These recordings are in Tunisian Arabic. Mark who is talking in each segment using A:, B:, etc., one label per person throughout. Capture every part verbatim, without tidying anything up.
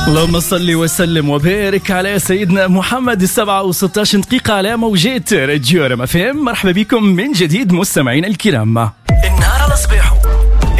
A: اللهم صل وسلم وبارك على سيدنا محمد. السبعة وستاش دقيقة على موجات راديو رما فام. مرحبا بكم من جديد مستمعينا الكرام.
B: النهار على صباحه،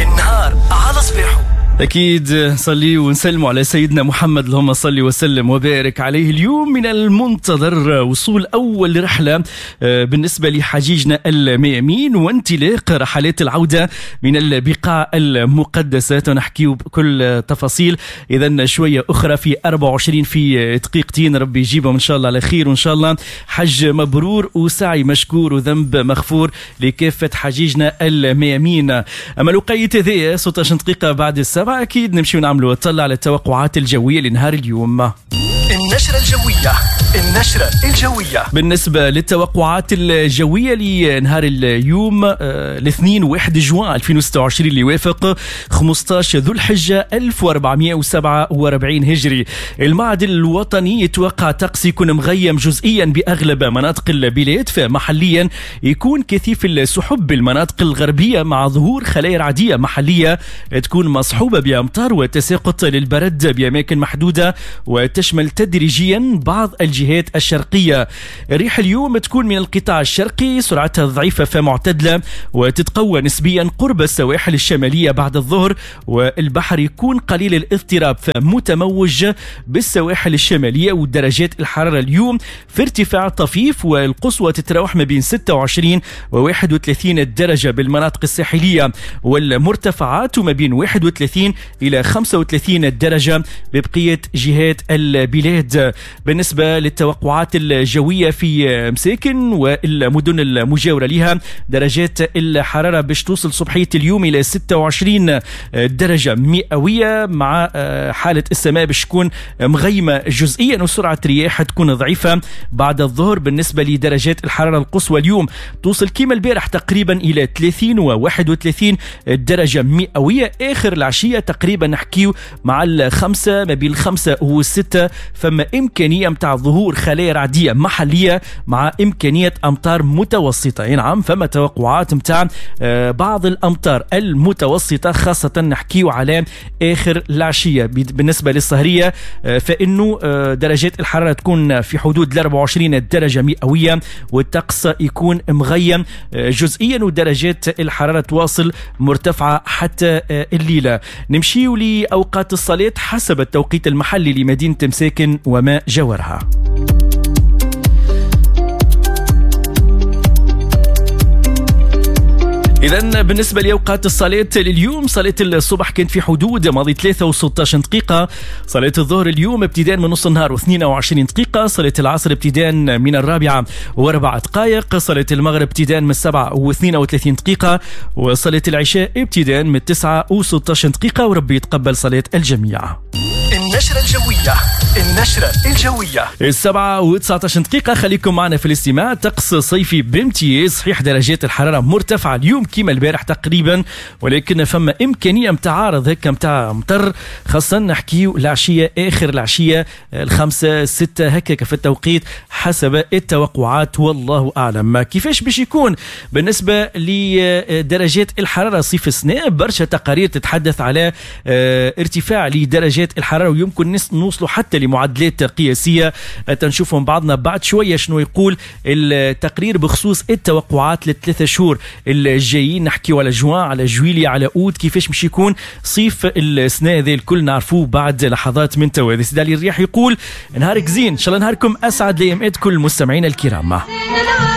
B: النهار على صباحه.
A: أكيد نصلي ونسلم على سيدنا محمد، اللهم صل وسلم وبارك عليه. اليوم من المنتظر وصول أول رحلة بالنسبة لحجيجنا الميامين وانطلاق رحلات العودة من البقاع المقدسة. نحكي بكل تفاصيل إذا شوية أخرى في أربعة وعشرين في دقيقتين. ربي يجيبهم إن شاء الله على خير، وإن شاء الله حج مبرور وسعي مشكور وذنب مغفور لكافة حجيجنا الميامين. أما الوقيت هذايا ستة عشر دقيقة بعد السبعة، أكيد نمشي ونعملوا طلع على التوقعات الجوية لنهار اليوم.
B: النشرة الجوية، النشرة الجوية.
A: بالنسبة للتوقعات الجوية لنهار اليوم الاثنين واحد جوان ألفين وستة وعشرين اللي يوافق خمسة عشر ذو الحجة ألف وأربعمائة وسبعة وأربعين هجري. المعهد الوطني يتوقع طقس يكون مغيم جزئيا بأغلب مناطق البلاد، فمحليا يكون كثيف السحب بالمناطق الغربية مع ظهور خلايا رعدية محلية تكون مصحوبة بأمطار وتساقط للبرد بأماكن محدودة وتشمل تدريجيا بعض الجهات الشرقية. الريح اليوم تكون من القطاع الشرقي، سرعتها ضعيفة فمعتدلة وتتقوى نسبيا قرب السواحل الشمالية بعد الظهر، والبحر يكون قليل الاضطراب فمتموج بالسواحل الشمالية. ودرجات الحرارة اليوم في ارتفاع طفيف والقصوى تتراوح ما بين ستة وعشرين و واحد وثلاثين درجة بالمناطق الساحلية والمرتفعات، وما بين واحد وثلاثين إلى خمسة وثلاثين درجة ببقية جهات البلاد. بالنسبة للتوقعات الجوية في مساكن والمدن المجاورة لها، درجات الحرارة باش توصل صبحية اليوم إلى ستة وعشرين درجة مئوية، مع حالة السماء باش تكون مغيمة جزئيا وسرعة رياح تكون ضعيفة بعد الظهر. بالنسبة لدرجات الحرارة القصوى اليوم توصل كما البارح تقريبا إلى ثلاثين و واحد وثلاثين درجة مئوية. آخر العشية تقريبا نحكيو مع الخمسة، ما بين الخمسة والستة فما إمكانية متاع ظهور خلايا رعدية محلية مع إمكانية أمطار متوسطة. نعم فما توقعات متاع بعض الأمطار المتوسطة، خاصة نحكيو على آخر العشية. بالنسبة للسهرية فإنه درجات الحرارة تكون في حدود أربعة وعشرين درجة مئوية والطقس يكون مغيم جزئيا، ودرجات الحرارة تواصل مرتفعة حتى الليلة. نمشيو لأوقات الصلاة حسب التوقيت المحلي لمدينة مساكن وما جاورها. إذن بالنسبة لأوقات الصلاة لليوم، صلاة الصبح كانت في حدود ماضي ثلاثة وستة دقيقة، صلاة الظهر اليوم ابتداء من نص النهار واثنين وعشرين دقيقة، صلاة العصر ابتداء من الرابعة واربع دقائق، صلاة المغرب ابتداء من السبعة واثنين وثلاثين دقيقة، وصلاة العشاء ابتداء من التسعة وستة دقيقة. وربي يتقبل صلاة الجميع.
B: النشرة الجوية، النشرة الجوية.
A: السبعة وتسعة عشر دقيقة، خليكم معنا في الاستماع. طقس صيفي بامتياز، صحيح درجات الحرارة مرتفعة اليوم كما البارح تقريبا، ولكن فما إمكانية متعارض هكا متاع مطر، خاصة نحكيو العشية، آخر العشية الخمسة ستة هكا في التوقيت حسب التوقعات، والله أعلم كيفاش باش يكون. بالنسبة لدرجات الحرارة صيف السنة، برشا تقارير تتحدث على ارتفاع لدرجات الحرارة ويمكن نوصلوا حتى لمعدلات قياسية. تنشوفهم بعضنا بعد شوية شنو يقول التقرير بخصوص التوقعات للثلاثة شهور الجايين. نحكيو على جوان، على جويليا، على أوت، كيفاش مش يكون صيف السنة هذه الكل نعرفوه بعد لحظات من توا. سيدي علي الرياح يقول نهارك زين، إن شاء الله نهاركم أسعد لأيامات كل المستمعين الكرام.